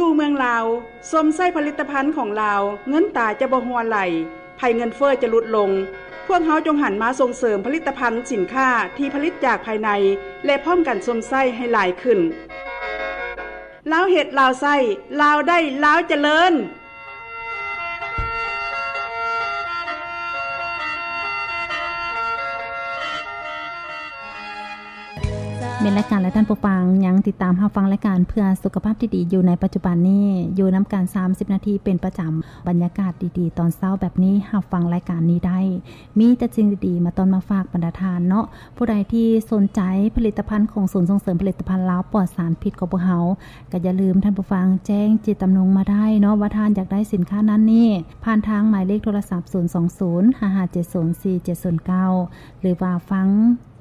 ຢູ່ເມືອງລາວ, ຊົມໃຊ້ຜະລິດຕະພັນຂອງລາວ, ເງິນຕາຈະບໍ່ຮົ່ວໄຫຼ, ໄພເງິນເຟີ້ຈະຫຼຸດລົງ. ພວກເຮົາຈົ່ງຫັນມາສົ່ງເສີມຜະລິດຕະພັນສິນຄ້າທີ່ຜະລິດຈາກພາຍໃນ ແລະ ພ້ອມກັນຊົມໃຊ້ໃຫ້ຫຼາຍຂຶ້ນ. ລາວເຮັດ, ລາວໃຊ້, ລາວໄດ້, ລາວຈະເລີນ. ແມ່ນລາຍການ ແລະ ທ່ານຜູ້ຟັງຍັງຕິດຕາມຮັບຟັງລາຍການເພື່ອສຸຂະພາບທີ່ດີຢູ່ໃນປັດຈຸບັນນີ້ ຢູ່ນຳກັນສາມສິບນາທີເປັນປະຈຳ. ບັນຍາກາດດີໆຕອນເຊົ້າແບບນີ້ ຮັບຟັງລາຍການນີ້ໄດ້ ມີແຕ່ສິ່ງດີໆມາຕ້ອນມາຝາກບັນດາທ່ານເນາະ. ຜູ້ໃດທີ່ສົນໃຈຜະລິດຕະພັນຂອງສູນສົ່ງເສີມຜະລິດຕະພັນລາວປອດສານພິດຂອງພວກເຮົາ ກໍຢ່າລືມທ່ານຜູ້ຟັງແຈ້ງເຈດຈຳນົງມາໄດ້ເນາະ ວ່າທ່ານຢາກໄດ້ສິນຄ້ານັ້ນນີ້ ຜ່ານທາງໝາຍເລກໂທລະສັບ ສູນສອງສູນ ຫ້າຫ້າເຈັດສູນ ສີ່ເຈັດສູນເກົ້າ ຫຼືວ່າຟັງ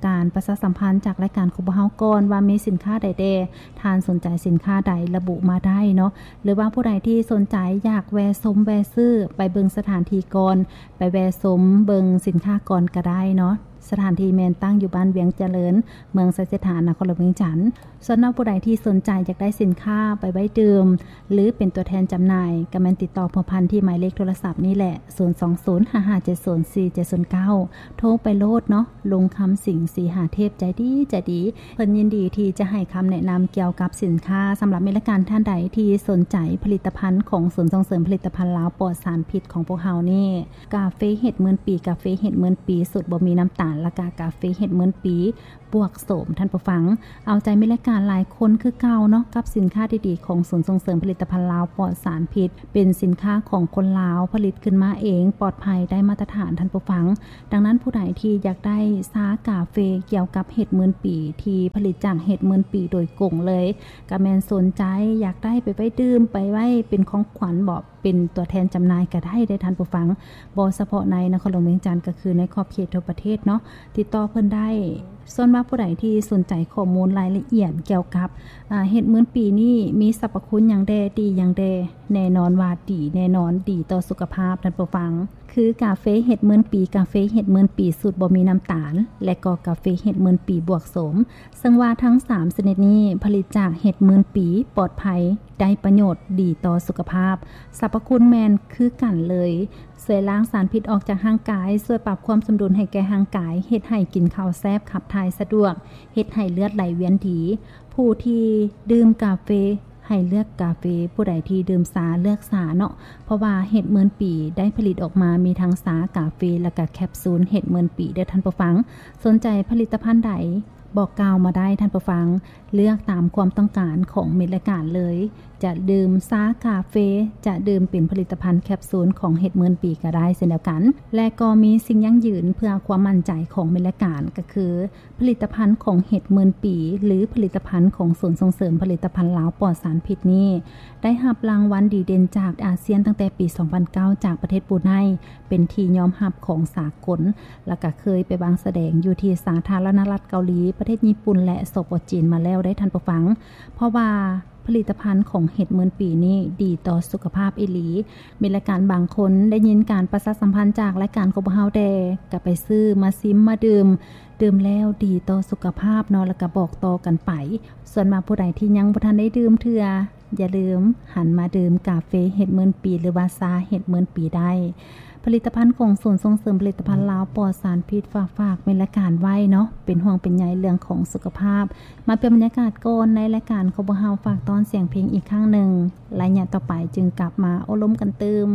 ການປະຊາສຳພັນຈາກລາຍການຂອງພວກເຮົາກ່ອນ ວ່າມີສິນຄ້າໃດແດ່, ທ່ານສົນໃຈສິນຄ້າໃດ ລະບຸມາໄດ້ເນາະ. ຫຼືວ່າຜູ້ໃດທີ່ສົນໃຈຢາກແວ່ຊົມແວ່ຊື້ ໄປເບິ່ງສະຖານທີ່ກ່ອນ, ໄປແວ່ຊົມເບິ່ງສິນຄ້າກ່ອນກໍໄດ້ເນາະ. ສະຖານທີ່ແມ່ນຕັ້ງຢູ່ບ້ານວຽງຈະເລີນ, ເມືອງໄຊເສດຖາ, ນະຄອນຫຼວງວຽງຈັນ. ສ່ວນວ່າຜູ້ໃດທີ່ສົນໃຈຢາກໄດ້ສິນຄ້າໄປໄວ້ດື່ມ ຫຼື ເປັນຕົວແທນຈຳໜ່າຍ ກໍແມ່ນຕິດຕໍ່ພົວພັນທີ່ໝາຍເລກໂທລະສັບນີ້ແຫຼະ ສູນສອງສູນ ຫ້າຫ້າເຈັດສູນ ສີ່ເຈັດສູນເກົ້າ. ໂທໄປໂລດເນາະ, ລຸງຄຳສິງ ສີຫາເທບ ໃຈດີໃຈດີ. ເພິ່ນຍິນດີທີ່ຈະໃຫ້ຄຳແນະນຳກ່ຽວກັບສິນຄ້າ. ສຳລັບແມ່ນລາຍການທ່ານໃດທີ່ສົນໃຈຜະລິດຕະພັນຂອງສູນສົ່ງເສີມຜະລິດຕະພັນລາວປອດສານພິດຂອງພວກເຮົານີ້ ກາເຟເຫັດໝື່ນປີ, ກາເຟເຫັດໝື່ນປີສູດບໍ່ມີນ້ຳຕານ ແລະ ກະກາເຟເຫັດໝື່ນປີ ບວກໂສມ. ທ່ານຜູ້ຟັງ ເອົາໃຈແມ່ນລາຍການຫຼາຍຄົນຄືເກົ່າເນາະ ກັບສິນຄ້າດີໆຂອງສູນສົ່ງເສີມຜະລິດຕະພັນລາວປອດສານພິດ ເປັນສິນຄ້າຂອງຄົນລາວ ຜະລິດຂຶ້ນມາເອງ ປອດໄພ ໄດ້ມາດຕະຖານ. ທ່ານຜູ້ຟັງ ດັ່ງນັ້ນ ຜູ້ໃດທີ່ຢາກໄດ້ຊາກາເຟກ່ຽວກັບເຫັດໝື່ນປີ ທີ່ຜະລິດຈາກເຫັດໝື່ນປີໂດຍກົງເລີຍ ກະແມ່ນສົນໃຈຢາກໄດ້ໄປໄວ້ດື່ມ ໄປໄວ້ເປັນຂອງຂວັນບໍ ເປັນຕົວແທນຈຳໜ່າຍກໍໄດ້ເດ້ທ່ານຜູ້ຟັງ, ບໍ່ສະເພາະໃນນະຄອນຫຼວງວຽງຈັນ ກໍຄືໃນຂອບເຂດທົ່ວປະເທດເນາະ ຕິດຕໍ່ເພິ່ນໄດ້. ສ່ວນວ່າຜູ້ໃດທີ່ສົນໃຈຂໍ້ມູນລາຍລະອຽດກ່ຽວກັບ ອາ ເຫັດໝື່ນປີນີ້ມີສັບພະຄຸນຫຍັງແດ່ ດີຫຍັງແດ່, ແນ່ນອນວ່າດີແນ່ນອນ, ດີຕໍ່ສຸຂະພາບທ່ານຜູ້ຟັງ. ຄືກາເຟເຫັດໝື່ນປີ, ກາເຟເຫັດໝື່ນປີສູດບໍ່ມີນ້ຳຕານ ແລະ ກໍກາເຟເຫັດໝື່ນປີບວກໂສມ. ເຊິ່ງວ່າທັງສາມຊະນິດນີ້ຜະລິດຈາກເຫັດໝື່ນປີ, ປອດໄພ, ໄດ້ປະໂຫຍດ, ດີຕໍ່ສຸຂະພາບ. ສັບພະຄຸນແມ່ນຄືກັນເລີຍ, ຊ່ວຍລ້າງສານພິດອອກຈາກຮ່າງກາຍ, ຊ່ວຍປັບຄວາມສົມດຸນໃຫ້ແກ່ຮ່າງກາຍ, ເຮັດໃຫ້ກິນເຂົ້າແຊບ, ຂັບຖ່າຍສະດວກ, ເຮັດໃຫ້ເລືອດໄຫຼວຽນດີ. ຜູ້ທີ່ດື່ມກາເຟ ໃຫ້ເລືອກກາເຟ, ຜູ້ໃດທີ່ດື່ມຊາເລືອກຊາເນາະ, ເພາະວ່າເຫັດໝື່ນປີໄດ້ຜະລິດອອກມາມີທັງຊາ, ກາເຟ ແລະ ກະແຄບຊູນເຫັດໝື່ນປີເດີ້ທ່ານຜູ້ຟັງ. ສົນໃຈຜະລິດຕະພັນໃດ ບອກກ່າວມາໄດ້ທ່ານຜູ້ຟັງ, ເລືອກຕາມຄວາມຕ້ອງການຂອງເມັດລາຍການເລີຍ. ຈະດື່ມຊາ, ກາເຟ, ຈະດື່ມເປັນຜະລິດຕະພັນແຄບຊູນຂອງເຫັດໝື່ນປີກໍໄດ້ເຊັ່ນດຽວກັນ. ແລະ ກໍມີສິ່ງຢັ້ງຢືນເພື່ອຄວາມໝັ້ນໃຈຂອງເມັດລາຍການ ກໍຄື ຜະລິດຕະພັນຂອງເຫັດໝື່ນປີ ຫຼື ຜະລິດຕະພັນຂອງສູນສົ່ງເສີມຜະລິດຕະພັນລາວປອດສານພິດນີ້ ໄດ້ຮັບລາງວັນດີເດັ່ນຈາກອາຊຽນຕັ້ງແຕ່ປີສອງພັນເກົ້າ ຈາກປະເທດບຣູໄນ ເປັນທີ່ຍອມຮັບຂອງສາກົນ ແລ້ວກະເຄີຍໄປວາງສະແດງຢູ່ທີ່ສາທາລະນະລັດເກົາຫຼີ, ປະເທດຍີ່ປຸ່ນ ແລະ ສປ ຈີນ ມາແລ້ວໄດ໋ທ່ານຜູ້ຟັງ. ເພາະວ່າ ຜະລິດຕະພັນຂອງເຫັດໝື່ນປີນີ້ດີຕໍ່ສຸຂະພາບອີ່ຫຼີ. ມີລາຍການບາງຄົນໄດ້ຍິນການປະຊາສຳພັນຈາກລາຍການຂອງພວກເຮົາແດ່ ກໍໄປຊື້ມາຊິມມາດື່ມ, ດື່ມແລ້ວດີຕໍ່ສຸຂະພາບເນາະ ແລ້ວກໍບອກຕໍ່ກັນໄປ. ສ່ວນວ່າຜູ້ໃດທີ່ຍັງບໍ່ທັນໄດ້ດື່ມເທື່ອ ຢ່າລືມຫັນມາດື່ມກາເຟເຫັດໝື່ນປີ ຫຼືວ່າຊາເຫັດໝື່ນປີໄດ້. ຜະລິດຕະພັນຂອງສູນສົ່ງເສີມຜະລິດຕະພັນລາວປອດສານພິດ ຝາກ ຝາກເປັນລາຍການໄວ້ເນາະ ເປັນຫ່ວງເປັນໃຍເລື່ອງຂອງສຸຂະພາບ. ມາປ່ຽນບັນຍາກາດກ່ອນ, ໃນລາຍການຂອງພວກເຮົາຝາກຕ້ອນສຽງເພງອີກຄັ້ງໜຶ່ງ, ໄລຍະຕໍ່ໄປຈຶ່ງກັບມາໂອ້ລົມກັນຕື່ມ.